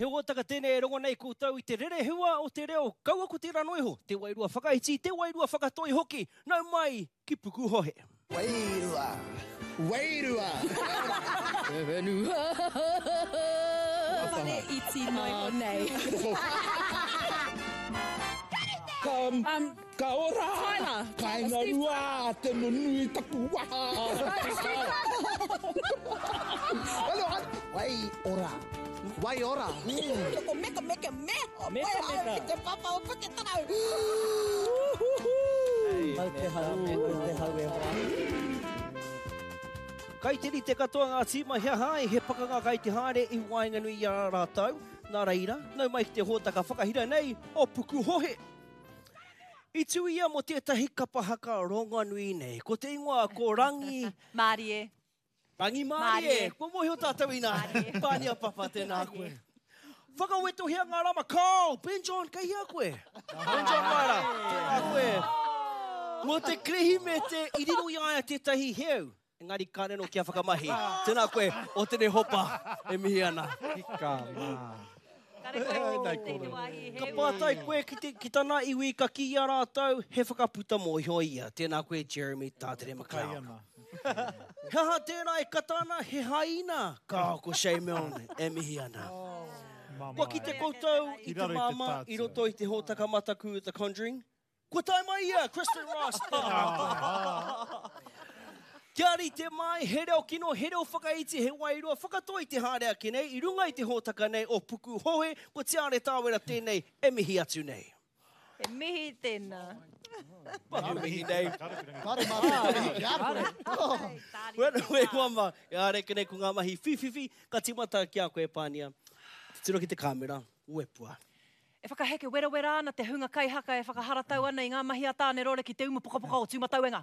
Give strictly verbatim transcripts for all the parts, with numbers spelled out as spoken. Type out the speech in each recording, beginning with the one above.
He hōtaka tēnei e rongo nei koutou i te rerehua o te reo, kaua ko tērā noa iho, te wairua whakaiti, te wairua whakatoi hoki, nau mai ki Pukuhohe. Wairua, wairua. Te whenua. Whare iti noa iho nei. Ka, Um, ka ora. Tyler. Kāinga rua, te nunui taku waha. Hello, wai ora. Wai ora. Ko meka meka me. Meka meka. Ki te papa o Puketarau. Mau te hau, mau te hau e hoa. Kai te rite katoa ngā tīma he aha ai, he pakanga kai te haere i waenganui i a rātou. Nā reira, nau mai ki te hōtaka whakahira nei o Pukuhohe. I tū ia mō tētahi kapa haka rongonui nei. Ko te ingoa ko Rangi... Mārie. Rangi Mārie. Mārie. Kua mōhio tātou inā. Pānia papa, tēnā koe. Whakawetohia ngā rama. Kao, Ben John, kei hea koe? Ben John Maera, tēnā koe. Mō te Kirihimete i riro i a ia tētahi heu. Engari kāre anō kia whakamahi. Tēnā koe, o tēnei hopa e mihi ana. Hika mā. Kare koe ki te te wāhi Ka heu. pātai koe ki, te, ki tana iwi ka kī i a rātou, he whakaputa mōhio ia. Tēnā koe, Jeremy Tātere McLeod. He aha tērā e kata ana, he haina. Ka ko Shay Milne e mihi ana. Kua kite koutou i te māmā i roto i te hōtaka mataku The Conjuring? Kua tae mai ia, Kristen Ross, tēnā koe. Kia rite mai, he reo kino, he reo whakaiti, he wairua whakatoi te haere ake nei, i runga i te hōtaka nei o Pukuhohe, ko Tiare Tāwera tēnei e mihi atu nei. He mihi tēnā. Pahu mihi nei. Kare mātou te mihi ki a koe. Well, we mama, e haere ake nei ko ngā mahi whiwhiwhi, ka timata ki a koe, Pānia. Titiro ki te kāmera, uepua. E whakaheke werawera ana te hunga kaihaka e whakaharatau ana i ngā mahi a Tāne Rore ki te umu pokapoka o Tūmatauenga.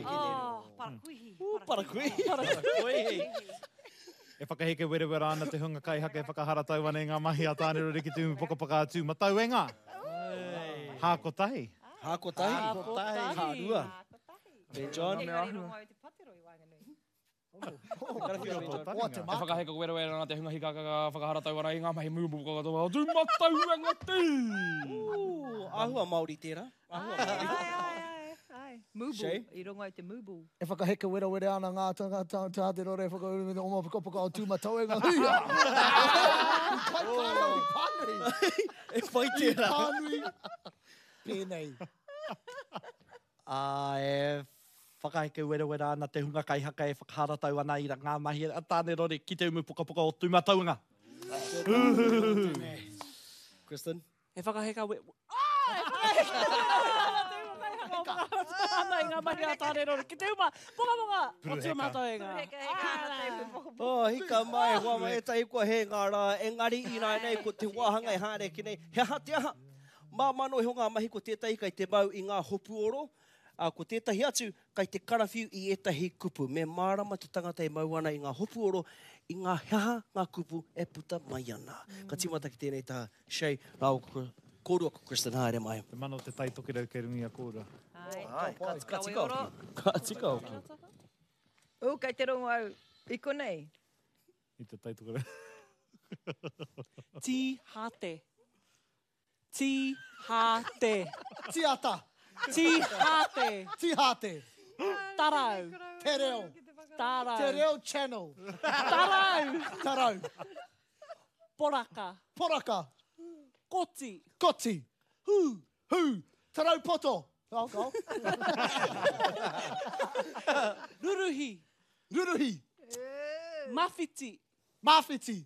Oh, parakuihi. Parakuihi. Parakuihi. E whakaheke werawera ana te hunga kaihaka e whakaharatau ana i ngā mahi a Tāne Rore ki te umu pokapoka a Tūmatauenga. Hā kotahi. Hā kotahi. Hā kotahi. Hā rua. Ben John. Engari rongo au te patero i waenganui. O te E maka. whakaheke werawera ana te hunga hikaka whakaharatau ana i ngā mahi mū pokapoka o Tūmatauenga tū. Ooh, āhua Māori tērā. Āhua Māori. Ai, ai, ai, ai. Mūbul. Shay? I rongo au te mūbul. E whakaheke werawera ana ngā tangata tā te rore whakauru me te oma pokapoka o Tūmatauenga. Huia! Kai kāre o pānui. E whai tērā. Pānui. Pēnei. Ā, e whakaheke werawera ana te hunga kaihaka e whakaharatau ana i ngā mahi a Tāne Rore ki te umu pokapoka o Tūmatauenga. Kristen? E whakaheka we... Ah, e whakaheke werawera ana te hunga kaihaka o whakaharatau ana i ngā mahi a Tāne Rore ki te uma pokapoka o Tūmatauenga. Oh, hika mai, hoa mai, ētahi kua he ngā rā, engari i nā nei ko te wāhanga e haere ake nei. He aha te aha? Māmā noa iho ngā mahi ko tētahi kai te mau i ngā hopuoro, ā, ko tētahi atu kai te karawhiu i ētahi kupu. Me mārama te tangata e mau ana i ngā hopuoro, i ngā he aha ngā kupu e puta mai ana. Ka tīmata ki tēnei taha, Shay, rāua ko kōrua ko Kristen, haere mai. Te mana o te tai tokerau kei runga i a kōrua. Ai. Ai, ka, ka tika hoki. Ka tika hoki. O, kei te rongo au i konei. I te tai tokerau. Tī hāte. Tī hāte. Tiata. Tī hāte. Tihāte. Tarau. Te reo. Tarau. Te reo channel. Tarau. Tarau. Poraka. Poraka. Koti. Koti. Hū. Hū. Tarau poto. Oh, go. Ruruhi. Ruruhi. Mawhiti. Mawhiti.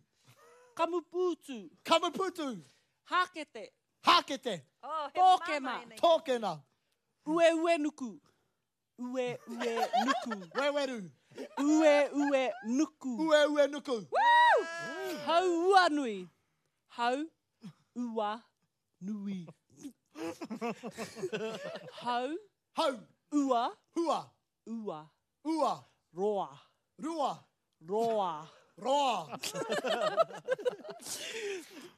Kamupūtu. Kamupūtu. Hākete. Hākete. Oh, he Tōkena. māmā ēnei. Tōkena. Ue ue nuku. Ue ue nuku. Weweru. Ue ue nuku. Ue ue nuku. Hau ua nui. Hau ua nui. Hau Hau. ua Hua. ua Ua. roa. Rua. Roa. Roa.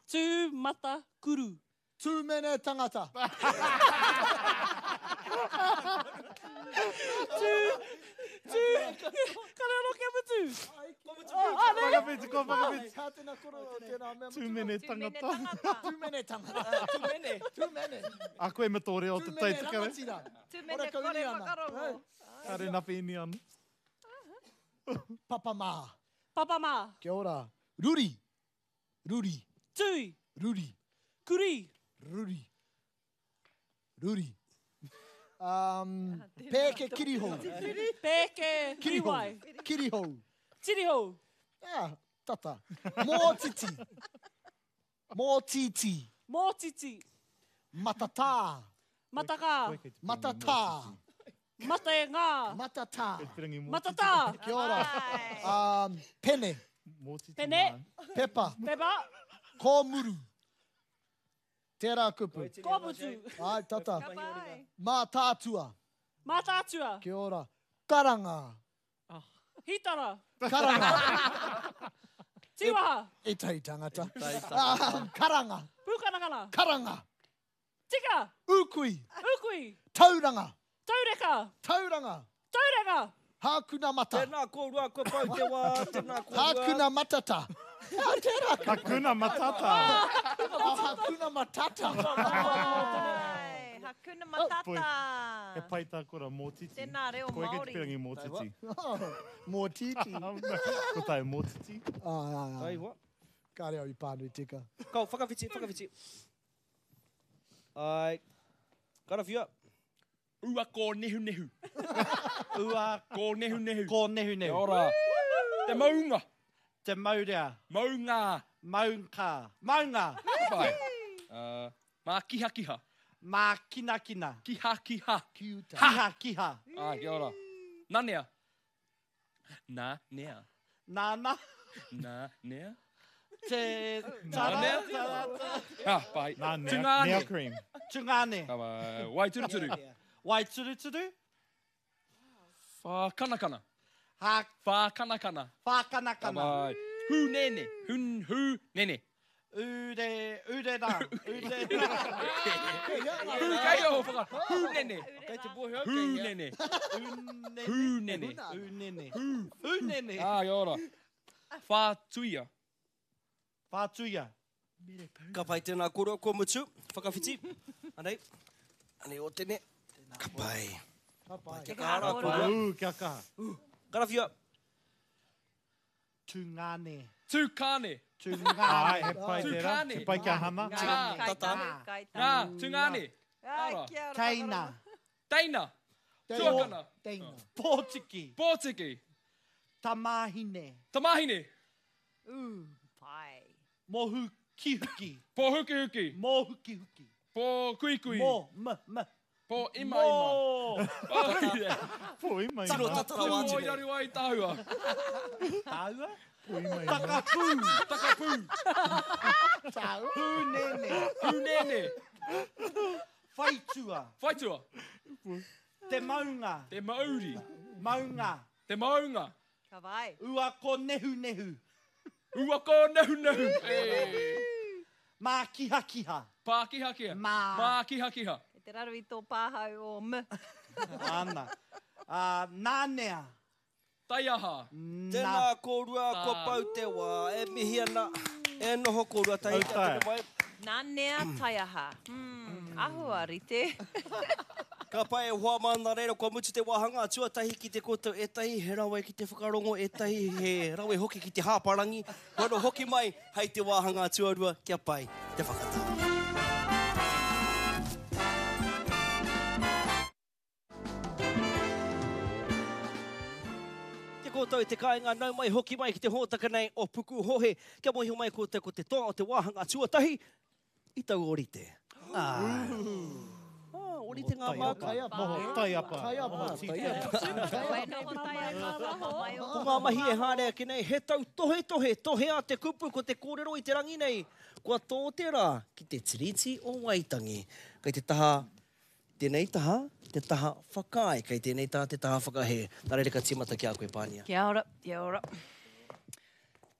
Tū mata kuru. Tūmene tangata. Tū, Tū. Kare anō kia mutu. Whakawhiti, ko whakawhiti. Kā tēnā koro, tēnā mea. Tūmene tangata. Tūmene tangata. Tūmene. Tūmene. A koe me tō reo te Tūmene taitika. rangatira. Tūmene kore whakarongo. Kare napi ini ana. Papa mā. Papa mā. Kia ora. Ruri. Ruri. Tui. Ruri. Kuri. Ruri. Ruri. Um, pēke kirihou. Pēke Kirihou. riwai. Kirihou. Tirihou. Ah, tata. Mōtiti. Mōtiti. Mōtiti. Matatā. Matakā. Matatā. Mate ngā. Matatā. Matatā. Kia ora. Um, pene. Pene. Pepa. Pepa. Kōmuru. Tērā kupu. Kōmutu. Ai, tata. Mātātua. Mātātua. Kia ora. Karanga. Hitara. Karanga. Tīwaha. E tei tangata. Um, karanga. Pūkanakana. Karanga. Tika. Ukui. Ukui. Tauranga. Taureka. Tauranga. Tauranga. Hākuna mata. Tēnā kōrua, kua pau te wā, tēnā kōrua. Hākuna matata. Ah, tērā kupu. Hakuna matata. Oh, hakuna matata. Ai, Hakuna matata. He pai tā kora mōtiti. Tēnā reo Koe kei te Māori. pirangi mōtiti. Mōtiti. Ko tai mōtiti. Ah, ah, ah. Taiwa. Kāre au i pānui tika. Kau, whakawhiti, whakawhiti. Ai. Karawhia. Ua kō nehu nehu. Ua kō nehu nehu. Kō nehu nehu. Kia ora. Te maunga. Te maurea. Maunga. Maunga. Maunga. Pai. Uh, mā kiha kiha. Mā kina kina. Kiha kiha. Kiuta. Kiha kiha. Ah, kia ora. Nanea. Nā nea. Nana. Nā nea. Te tara. Nānea. Tara. tara. Ah, pai. Nā nea. Tungāne. Nea cream. Tungāne. Ka pai. Waituruturu. Waituruturu. Whākanakana. Ha. Whākanakana. Ka Whākanakana. pai. Hūnene. Hun, hū, nene. Ure, ure rā. Ure rā. Hū, kei o whaka. Hūnene. Kei te bohe au kei hea. Hūnene. Unene. Hūnene. Unene. Unene. Ah, kia ora. Whātuia. Whātuia. Ka pai tēnā kōrua, kua mutu. Whakawhiti. Anei. Anei o tene. Ka pai. Ka pai. Kia kaha rā kōrua. Ū, kia kaha. Karawhia. Tungāne. Tūkāne. Tungāne. Ai, he pai tērā. Tūkāne. He pai kia hana. Ngā. Tata. Ngā. Tungāne. Ai, kia ora. Teina. Teina. Tuakana. Teina. Pōtiki. Pōtiki. Tamahine. Tamahine. Ū, pai. Mohu kihuki. Pōhukihuki. Mōhukihuki. Pōkuikui. Mō, m, m. Pō ima ima. Mō. Pō ima Tino ima. tata rawa atu Pō nei. iraru ai tāua. Tāua. Pō ima ima. Takapū. Takapū. Hūnene. Hūnene. Whaitua. Whaitua. Te maunga. Te mauri. Maunga. Te maunga. Ka vai. Ua ko nehu nehu. Ua kō nehu nehu. Hey. Mā kiha kiha. Pā kiha kiha. Mā. Mā kiha kiha. Kei te raru i tō pāhau o M. Ana. Uh, nānea. Taiaha. Nā. Tēnā kōrua, kua pau te wā. E mihi ana. E noho kōrua tahi kia Autai. tere mai. Nanea taiaha. Mm, ahua rite. Ka pai e hoa mā nā reira, kua mutu te wāhanga tuatahi ki te koutou ētahi, he rawe ki te whakarongo ētahi, he rawe hoki ki te hāparangi. Wano hoki mai, hei te wāhanga tuarua, kia pai te whakatā. Kia koutou e te kāinga, nau mai hoki mai ki te hōtaka nei o Pukuhohe. Kia mōhio mai koutou ko te toa o te wāhanga tuatahi, i tau orite. Ah. Ah, orite ngā māka. Taiapa. Moho taiapa. Taiapa. Moho tītaiapa. Wai noho taiaha, waho mai o. Ko ngā mahi e haere ake nei, he tau tohe tohe, tohe a te kupu ko te kōrero i te rangi nei. Kua tō te rā ki te Tiriti o Waitangi. Kei te taha, tēnei taha, te taha whakaae, kei tēnei taha te taha whakahē. Nā reira ka tīmata ki a koe, Pānia. Kia ora, kia ora.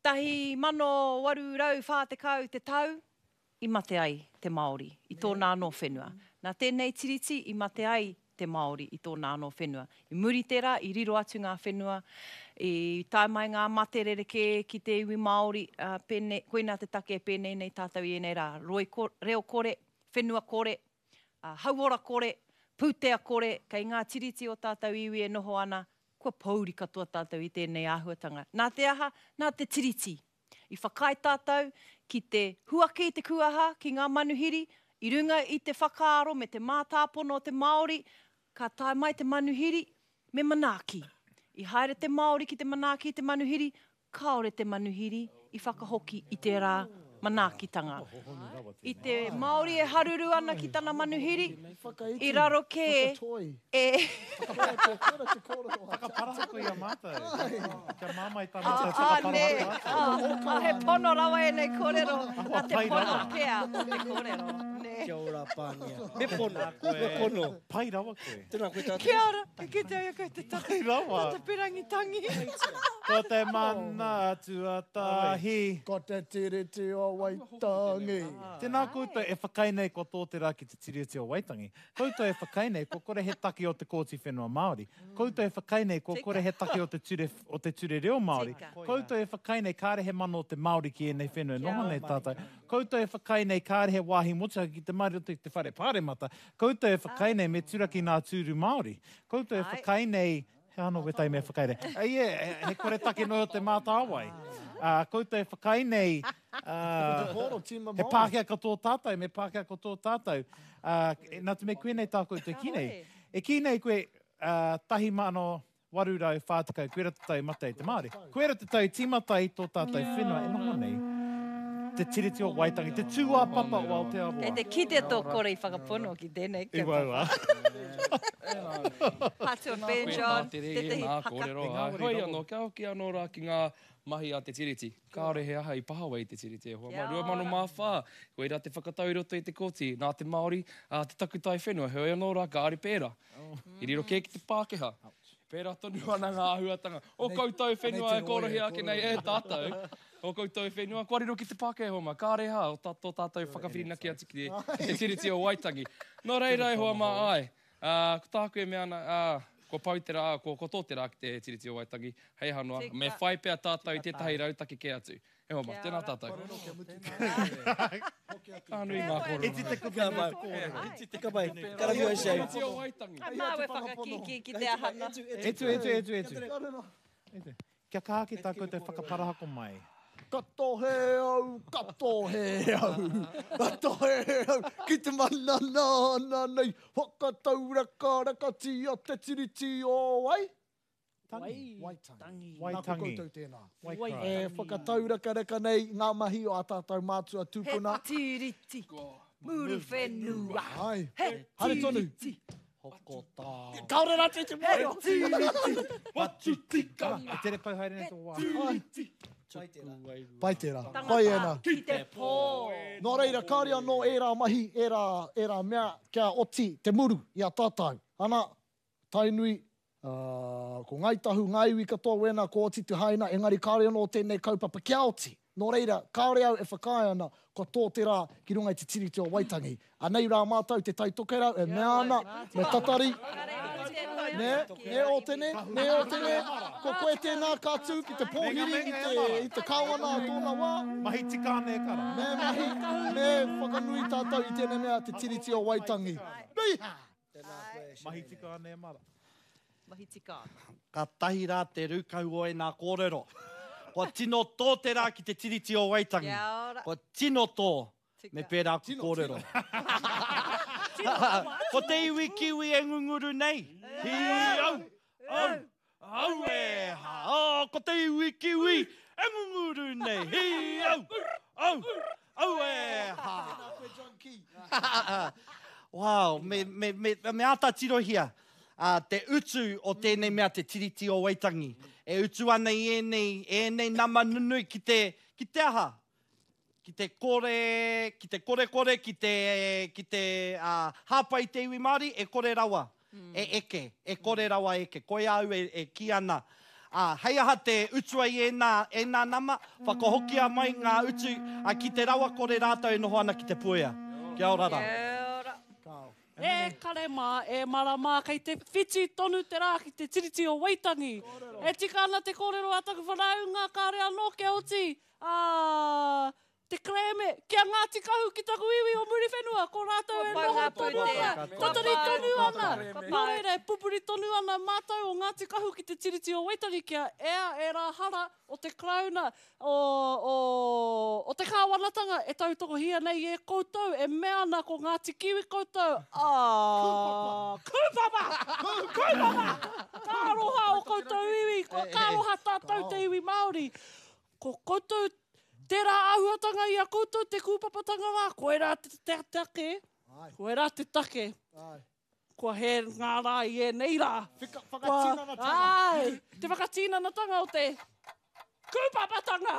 Tahi mano waru rau whā tekau te tau i mate ai te Māori, i tōna anō whenua. Nā tēnei tiriti i mate ai te Māori i tōna anō whenua. I muri tērā, i riro atu ngā whenua, i tae mai ngā mate rerekē ki te iwi Māori, uh, pēnei, koinā te take e pēnei nei tātou i ēnei rā. Roi ko, reo kore, whenua kore, uh, hauora kore, pūtea kore, kei ngā tiriti o tātou iwi e noho ana, kua pouri katoa tātou i tēnei āhuatanga. Nā te aha, nā te tiriti. I whakaae tātou ki te huaki i te kuaha, ki ngā manuhiri, i runga i te whakaaro me te mātāpono o te Māori, ka tae mai te manuhiri me manaaki. I haere te Māori ki te manaaki i te manuhiri, kāore te manuhiri i whakahoki i tērā manaakitanga. I te Māori e haruru ana ki tana manuhiri, i raro kē e... Whakaparahako i a mātou. Kia māmai tā Ah, mātou ah, nē. whakaparahako. Ah, ah, he pono rawa ēnei kōrero. Nā te pai pono rawa. pea o te kōrero. Nē. Kia ora, Pānia. Me pono, me pono. Pai rawa koe. Tēnā koe tātou. Kia ora, e kite ai koe te tata, Pai rawa. tata pirangi tangi. Ko te mana tuatahi. Ko te Tiriti o Waitangi. Tēnā koutou e whakaae nei ko tō te rā ki te Tiriti o Waitangi. Koutou e whakaae nei ko kore he take o te Kōti Whenua Māori. Koutou e whakaae nei ko kore he take o te ture, o te ture reo Māori. Tika. Koutou e whakaae nei kāre he mana o te Māori ki ēnei whenua e noho nei tātou. Koutou e whakaae nei kāre he wāhi motuhake ki te Māori o te, te whare pāremata. Koutou e whakaae nei me turaki ngā tūru Māori. Koutou e Ai. whakaae nei He anō wetai mea whakaere. Ai, e, he kore take noa o te mātāwai. Uh, koutou e whakaae nei, uh, Kōrero, tīma he Māori. Pākehā katoa tātou, me Pākehā katoa tātou. Uh, nā te mea koe nei tā koutou ki nei. E ki nei koe, uh, tahi mano waru rau whā tekau, koe ra te tau mate i te Māori. Koe ra te tau tīmata i tō tātou whenua e noho nei. Te Tiriti o Waitangi, te tūāpapa o Aotearoa. Kei te kite tō kore i whakapono ki tēnei I waua. Patu Ben John, tētahi Nā haka. kōrero, Te ai. ngāwari Hoi rawa. anō, kia hoki anō rā ki ngā mahi a te Tiriti. Kāore he aha i pahawa i te Tiriti e hoa. Kia Ma, rua mano mā whā, koe rā te whakatau i roto i te kōti, nā te Māori, a te takutai whenua, heoi anō rā, kāre pērā. I riro kē ki te Pākehā. Pērā tonu ana ngā āhuatanga. O koutou whenua e kōrohia ake nei e tātou. O koutou whenua, kua riro ki te Pākehā hoa mā. Kāre hā, o tā, tō tātou whakawhirinaki atu ki te, ki te Tiriti o Waitangi. Nō reira e hoa mā ai. Uh, ko tāku e mea ana, uh, kua pau te rā, kua, kua tō te rā ki te Tiriti o Waitangi. Hei hanoa, Tika. me whai pea tātou i tētahi rautaki kē atu. E hoa mā, Kia tēnā ora. tātou. Ka nui ngā kōrero. E ti te kupu Ka nei mai. te kōrero. Ka mai. Karakia Shane. Tiriti o Waitangi. Ai māu e whakakīkī ki te ahana. Etu, etu, etu, etu. Etu. Kia kaha ki tā koutou whakaparahako mai. Ka tohe au, ka tohe au, ka tohe au, ki te mana nāna nei, whakatauraka rakatia te Tiriti o Wai? Tangi. Waitangi. Waitangi. Nā ko koutou tēnā. Waitangi. E whakataurakaraka nei ngā mahi o a tātou mātua He tūpuna. tiriti, muru whenua. Ai, He haere tonu. tiriti, Hoko tā. Kāore rā te te he mōhio. tiriti, Watu tikanga. E tere pau haere nei tō wā. Pai tērā. Pai tērā. Pai ēnā. ki te pō. Nō reira, kāre anō ērā mahi, ērā, ērā mea kia oti te muru i a tātou. Ana, Tainui, uh, ko Ngāi Tahu, ngā iwi katoa wēnā ko oti te haina, engari kāre anō tēnei kaupapa kia oti. Nō reira, kāore au e whakaae ana kua tō te rā ki runga i te Tiriti o Waitangi. Anei rā mātou te Tai Tokerau e mea ana, me tatari, nē, nē o tene, nē o tene, ko koe tēnā ka tū ki te pōhiri i te, i te kāwana a tōna wā, Mahi tika ana e kara. Me mahi, me whakanui tātou i tēnei mea te Tiriti o Waitangi. Nei! Mahi tika ana e mara. Mahi tika ana. Ka tahi rā te rūkau o e nā kōrero. Kua tino tō te rā ki te Tiriti o Waitangi. Kia ora. Kua tino tō. Tika. Me pērā ku kōrero. Ko te iwi kiwi e ngunguru nei. Hi au, au, au e ha. Oh, ko te iwi kiwi e ngunguru nei. Hi au, au, au e ha. Wow, me, me, me, me āta tirohia uh, te utu o tēnei mea te Tiriti o Waitangi. E utu ana i ēnei, ēnei nama nunui ki te, ki te aha? Ki te kore, ki te kore kore, ki te, ki te uh, hāpai te iwi Māori, e kore rawa, e eke, e kore rawa eke. Koe au e, e ki ana. Uh, hei aha te utua i ēnā, ēnā nama, whakahokia mai ngā utu uh, ki te rawa kore rātou e noho ana ki te puea. Kia ora rā. Kia ora. E kare mā, e mara mā, kei te whiti tonu te rā ki te Tiriti o Waitangi. E tika ana te kōrero a taku whanaunga, kāre anō kia oti, ā, te kerēme ki a Ngāti Kahu ki taku iwi o Muriwhenua, ko rātou e noho tonu ana, tatari tonu ana. Nō reira, e pupuri tonu ana mātou o Ngāti Kahu ki te Tiriti o Waitangi kia ea ērā hara o te Karauna, o, o, o te kāwanatanga e tautokohia nei e koutou, e mea ana ko Ngāti Kiwi koutou, ā, kūpapa! Kūpapa! Ka aroha o koutou iwi, ka aroha tātou te iwi Māori. Ko koutou Tērā āhuatanga i a koutou te kūpapatanga rā, koirā te take, koirā te take, kua hē ngā rā i ēnei rā. Whakatinanatanga. Āe, te whakatinanatanga o te kūpapatanga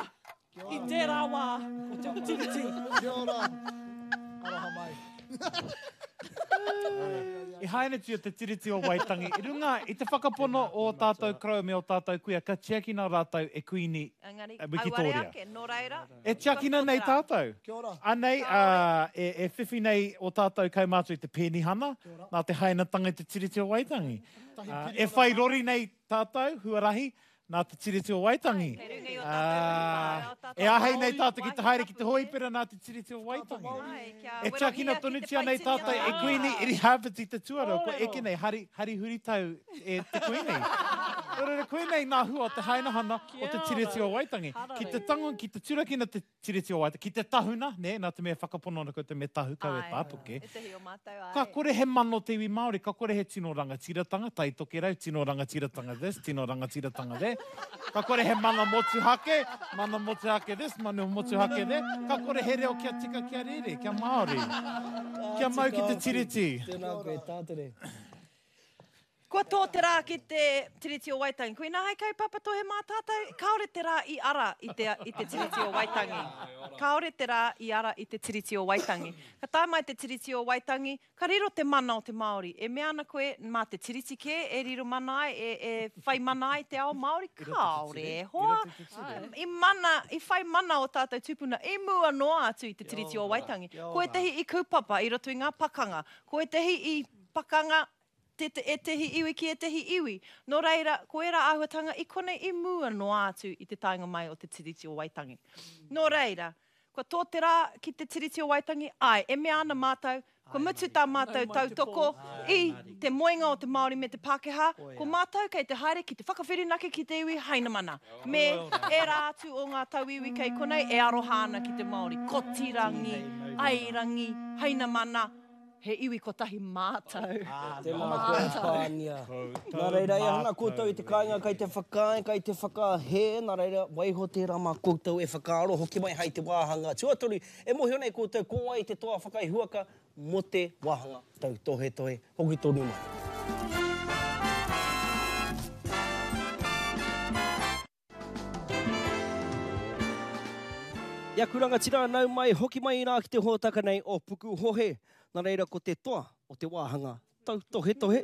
i tērā wā o te Tiriti. Kia ora, aroha mai. I hainatia te Tiriti o Waitangi i runga i te whakapono o ō tātou koroua me ō tātou kuia ka tiakina rātou e Kuini Engari, Wikitōria. auare ake, nō reira, E tiakina nei tātou. Kia ora. Anei, ā, e, e whiwhi nei ō tātou kaumātua i te penihana, nā te hainatanga i te Tiriti o Waitangi. Ā, e whai rori nei tātou, huarahi, nā te Tiriti o Waitangi. Ā, e āhei nei tātou ki te haere ki te hōhipera nā te Tiriti o Waitangi. E tiakina tonutia nei tātou e Kuini Irihāpeti te Tuarua, kua eke nei hari, hari huritau e te Kuini. Nō reira, koinei ngā hua o te hainahana o te Tiriti o Waitangi. Ki te tango, ki te turakina te Tiriti o Waitangi, ki te tahuna, nē, nā te mea e whakapono ana koutou me tahu kau e tāpuke. Ētahi o mātou, āe. Ka kore he mana o te iwi Māori, ka kore he tino rangatiratanga, Tai Tokerau, tino rangatiratanga this, tino rangatiratanga that. Ka kore he mana motuhake, mana motuhake this, mana motuhake that. Ka kore he reo kia tika, kia rere, kia Māori. Kia mau ki te Tiriti. Tēnā koe, Tātere. Kua tō te rā ki te Tiriti o Waitangi. Koinā hei kaupapa tohe mā tātou, kāore te rā i ara i te, i te Tiriti o Waitangi. Kāore te rā i ara i te Tiriti o Waitangi. Ka tae mai te Tiriti o Waitangi, ka riro te mana o te Māori. E mea ana koe, mā te Tiriti kē e riro mana ai, e, e whai mana ai te ao Māori? Kāore e hoa. I mana, i whai mana o tātou tūpuna i mua noa atu i te Tiriti o Waitangi. Ko ētahi i kūpapa i roto i ngā pakanga. Ko ētahi i pakanga te, te, ētehi iwi ki ētehi iwi. Nō reira, ko ērā āhuatanga i konei i mua noa atu i te taenga mai o te Tiriti o Waitangi. Nō reira, kua tō te rā ki te Tiriti o Waitangi, āe, e mea ana mātou, kua mutu tā mātou tautoko i te moenga o te Māori me te Pākehā, ko mātou kei te haere ki te whakawhirinaki ki te iwi Hainamana, me ērā atu o ngā tauiwi kei konei e aroha ana ki te Māori. Kotirangi, Airangi, Hainamana, he iwi kotahi mātou. Tēnā koe, Pānia. Nā reira, e hanga koutou i te kāinga kei te whakaae, kei te whakahē, nā reira, waiho tērā mā koutou e whakaaro hoki mai hei te wāhanga tuatoru. E mōhio nei koutou ko wai te toa whakaihuaka mō te wāhanga tautohetohe hoki tonu mai. I aku rangatira, nau mai, hoki mai rā ki te hōtaka nei o Pukuhohe. Nā reira ko te toa o te wāhanga tautohetohe.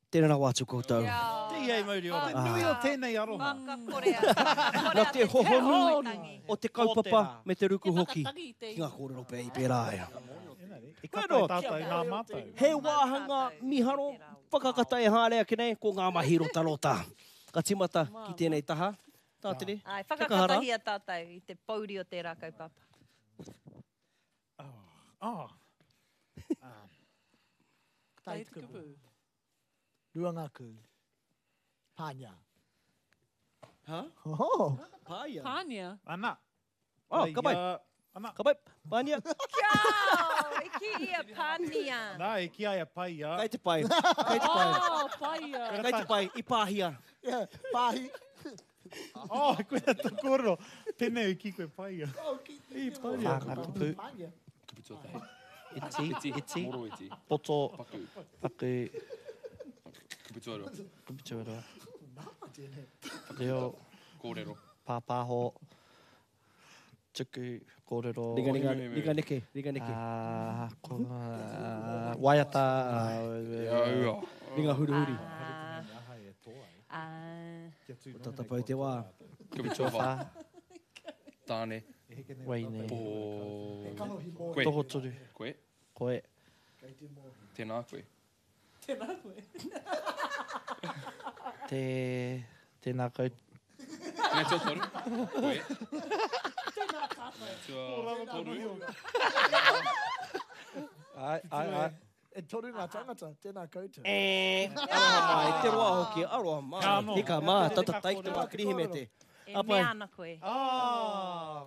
Tēnā rawa atu koutou. Tihei mauri ora. Te nui o tēnei aroha. Nā te hohonu o te kaupapa me te ruku hoki ki ngā kōrero pea i pērā ai. I kata i tātou nā mātou. He wāhanga miharo whakakata e haere ake nei ko ngā mahi rotarota. Ka timata ki tēnei taha. Tātere, Ai, kia kaha rā. whakakatahia tātou i te pouri o tērā kaupapa. Oh. Tai te kupu. Rua ngā kū. Pānia. Ha? Oh. Pāia. Pānia. Ana. Oh, ka pai. Ana. Ka pai. Pānia. Kia! I ki ia pānia. Nā, i ki aia paia. Kei te pai. Kei te pai. Oh, paia. Kei te pai. I pāhia. Yeah, pāhi. Oh, koe te kōrero. Tēnei i ki koe paia. Oh, ki. I paia. Whānga kupu. Pānia. Kupu tuatahi. Iti, Iti, iti, moro iti. poto, Paku. paku, Kupu tuarua. kupu tuarua. Reo, Kōrero. pāpāho, tuku, kōrero. Ringa, ringa, ringa neke, ringa neke. Ah, ko, ah, waiata. Ia, Ringa huruhuri. Ah, Ko tatapau te wā. Kupu tuawhā. Tāne. Waine. Po. Koe. Tohoturu. Koe. Koe. Tēnā koe. Tēnā koe. Te... Tēnā koutou. Mea tuatoru. Koe. Tēnā tātou. Mea tuatoru. Ai, ai, ai. E toru ngā tangata, tēnā koutou. E, aroha mai, te roa hoki, aroha mai. Hika mā, tata taiki te wā Kirihimete. E mea ana koe. Ah!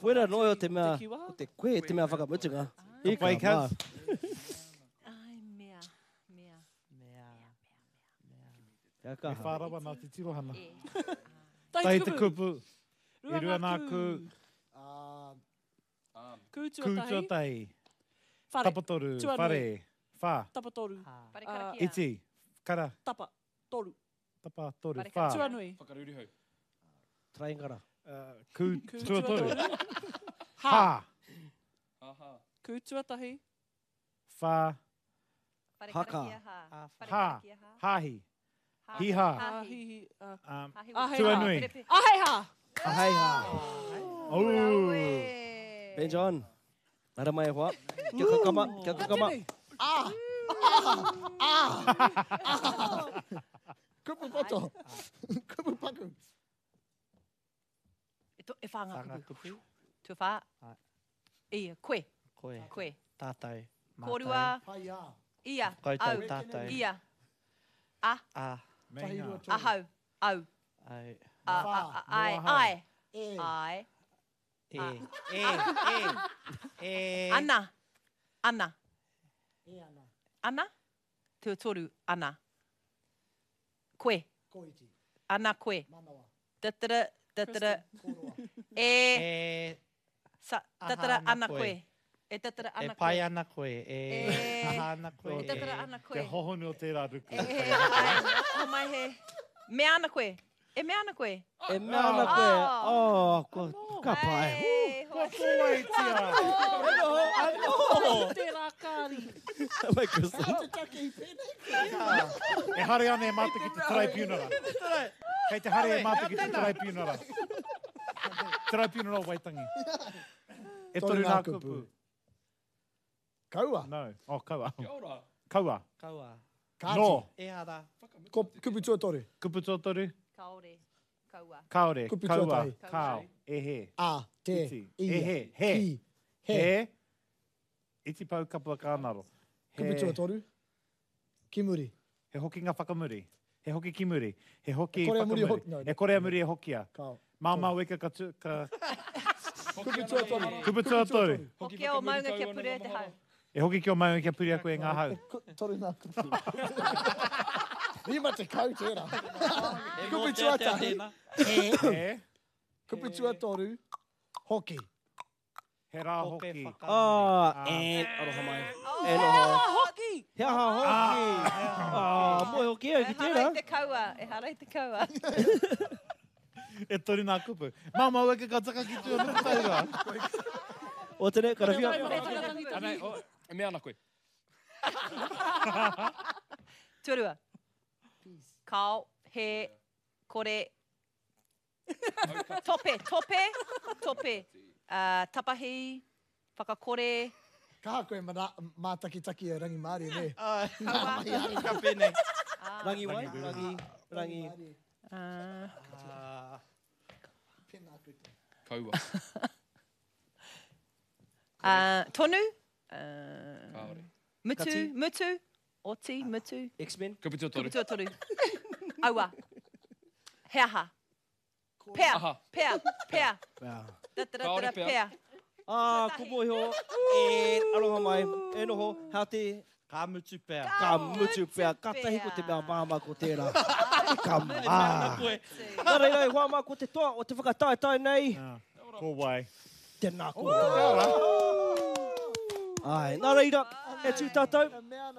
Koera noa o te mea, o te koe te mea whakamutunga. Hika mā. Ai, mea, mea. Mea, mea. Kia kaha. Me whārawa nā te tirohana. Tai Tai te te kupu. E rua nā ku. Kū Kū tuatahi. tuatahi. Whare. Tapatoru. Tuanui. Whare. Whā. Tapatoru. Whare karakia. Iti. Kara. Tapa. Toru. Tapa toru. Whare Whā. karakia. Tuanui. Whakarurihau. Traingara. Kū Kū tuatoru. tuatoru. Hā. Aha. Kū tuatahi. Whā. Whare Haka. karakia hā. Whare Hā. karakia hā. Hāhi. Hiha. Hāhi. Um, Ahei hā. Tuanui. Ahei hā. Ahei hā. Oh. Ben John. Nara mai e hoa. Kia kakama, kia kakama. Ah! Ah! Ah! Ah! Kupu poto. Kupu paku. E, to, e whā ngā kupu. Tuawhā. Ia, koe. Koe. Koe. Tātou. Mātou. Kōrua. Ia. Koutou, Au. tātou. Ia. A. A. Ahau. Au. Au. A, a, a, ai, ai. Ai. E. E. E. E. Ana. Ana. Ana. Tuatoru. Ana. Koe. Ana koe. Tatara, tatara. E. E. Sa, Aha tatara ana ana koe. koe. E tatara E ana koe. pai ana koe. E. E. Aha ana koe. E tatara ana koe. Te hohonu o tērā ruku. E, ai, o mai he. Mea ana koe. E mea ana koe. E mea ana koe. Oh, kua, ka pai. Kua kōwaitia. Anō. Tērā kāri. Mai Kristen. E hare ana e mātou ki te tribunala. Kei te hare e mātou ki te tribunala. Tribunala o Waitangi. E toru ngā kupu. Kaua. No. Oh, kaua. Kia ora. Kaua. Kaua. Kāti. No. Ehara. Ko, kupu tuatoru. Kupu tuatoru. Kaore. Kaua. Kaore. Kupu Kaua. tuatahi. Kao. Ehe. A, te, Iti. ia, Ehe. He. ki, he. He. Iti pau kapua kānaro. He. Kupu tuatoru. Ki muri. He hokinga whakamuri. He hoki ki muri. He hoki E kore a muri whakamuri. hoki- no, E kore a muri e hokia. Kao. Māmā weka ka tu... Ka... Kupu tuatoru. Kupu tuatoru. Hoki o maunga kia purea te hau. E hoki ki o maunga kia purea koe ngā hau. Ku- Toru ngā kupu. Rima te kau tērā. Kupu tuatahi. He. He. Kupu tuatoru. Hoki. He rā hoki. Ah, and aroha mai. E noho. Hoki! He aha hoki. Ah, moe hoki au ki E hara tērā. i te kaua. E hara i te kaua. E toru ngā kupu. Māmā weka ka taka ki tua nuku taura. O tene, karawhia. Ana, o, e mea ana koe. Tuarua. Kao, he, kore, tope, tope, tope. Uh, tapahi, whakakore. Kaha koe mana, mātakitaki e Rangimārie, ne? Kaua. Ka pēnei. Rangi wai, rangi, rangi. Uh, Pēnā koutou. Kaua. uh, tonu. Uh, Kāore. mutu, Kati. mutu. Oti, mutu. X-Men. Kupu tuatoru. Kupu tuatoru. Aua. He aha. Pea, Aha. pea, pea. Pea. Tatara, Kāore tara, pea. pea. Ah, ko moiho. E aroha mai. E noho, hea te Ka mutu pea. ka mutu pea. Ka tahi ko te mea māmā ko tērā. Ka mā. Nā reira, e hoa mā ko te toa o te whakataetae nei. Ko wai. Tēnā koutou. Ai, nā reira, e tū tātou.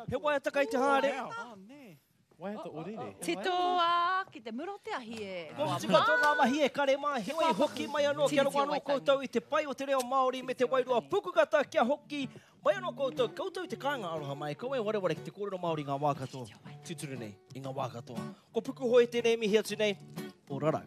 He waiata kai te haere. Oh, nē. Waiata orere. Titoa ki te mura o te ahi e. Kua mutu katoa ngā mahi e kare mā, heoi hoki mai anō kia rongo anō koutou i te pai o te reo Māori me te wairua pukukata kia hoki mai anō koutou, koutou i te kāinga aroha mai, kaua e wareware ki te kōrero Māori i ngā wā katoa, tūturu nei, i ngā wā katoa. Ko Pukuhoi tēnei mihi atu nei, o rarau.